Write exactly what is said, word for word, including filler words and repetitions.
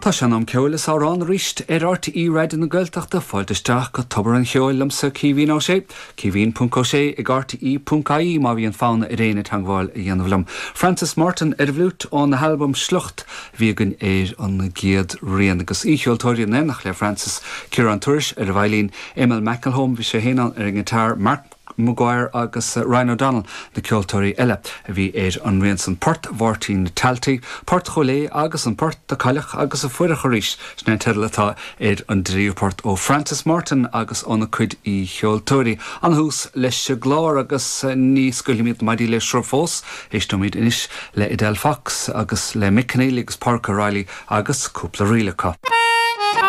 Tá sé in am ceoil is amhrán arís ar RTÉ Raidió na Gaeltachta fáilte isteach go Tobar an Cheoil liomsa Caoimhín Ó Sé, Caoimhín ponc Ó Sé ag RTÉ ponc ie má bhíonn fonn ar éinne teagmháil a dhéanamh liom. Francis Martin ar bhfliúit óna halbam Sliocht bhí againn ar an gcéad rian agus aoicheoltóirí in éineacht le Francis Ciarán Tourish ar an veidhlín Emil McElholm bhí sé féin ar an ngiotár Mark Maguire agus uh, Ryan O'Donnell na ceoltóirí eile a bhí ar an rian san Port Mháirtín Talty, Port Cholé agus an Port a Cailleach agus a Fuireach arís sin an teideal atá ar an dtríú port ó Francis Martin agus óna cuid aoicheoltóirí. An tús leis an gclár agus uh, ní scaoilfimid maidí le sruth fós, éisteoimid anois le Edel Fox agus le Mick Keneally agus Parker Riley agus cúpla ríl acu.